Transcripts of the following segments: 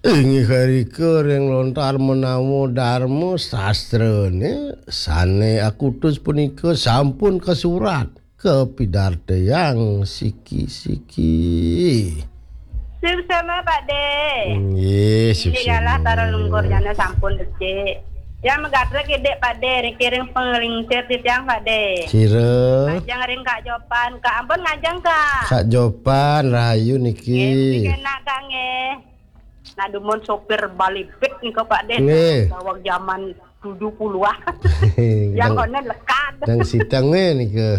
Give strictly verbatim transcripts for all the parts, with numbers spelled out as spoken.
Inggih harika ring lontar menawa dharma sastrane sane akutus punika sampun kasurat kapidartayang siki-siki. Suksma, Pak De. Nggih, suksma. Inggih galah, tara lungkur jana sampun becik. Yang megatrek idik, Pak De, niki ring penglingsir titiang, Pak De. Sira. Ngajeng ring Kak Jopan, Kak, ampun ngajeng, Kak. Kak Jopan, rahayu niki. Nggih, niki enak, Kak, nggih. Nah, dumun sopir balibik nika, Pak De. Nggih. Daweg jaman tujuh puluhan. Yang Dang, kono lekad. Dang siteng, eh, nika.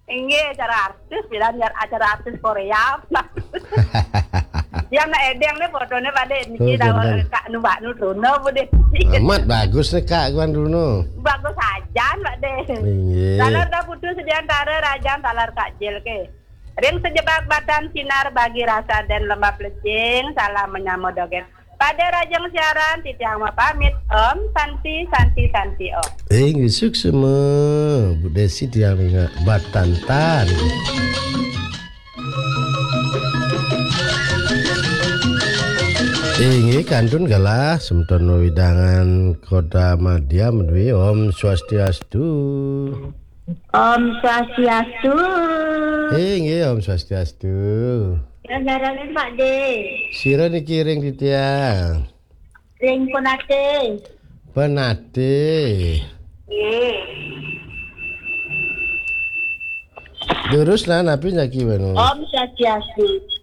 Inggih, acara artis, bilang jar-, acara artis Korea. Yang nak edeng nih fotone, Pak De. Niki. Oh, daweg, jangan. Kak nu, Mbak nu Truno, Bu De. Amat bagus nih, Kak, Wan Truno. Bagus ajan, Pak De. Inggih. Taler dah putus di antara rajan taler Kak Jil ke. Ring sejebak batan sinar bagi rasa dan lembab lecing, salam menyama dogen. Pada rajang siaran, titiang mapamit. Om Santi, Santi, Santi, Om. Inggih, suksma, Bu Desi, tiang ringa batan tan. Inggih, kantun galah, semeton wewidangan Kota Madya, Madwi. Om Swastiastu. Om Swastiastu. Inggih, Om Swastiastu. Ya, jaranin, Pak De. Sira niki ring titiang? Ring Penatih. Penatih. Nggih. Durus nah, napi jaki wenu? Om Swastiastu.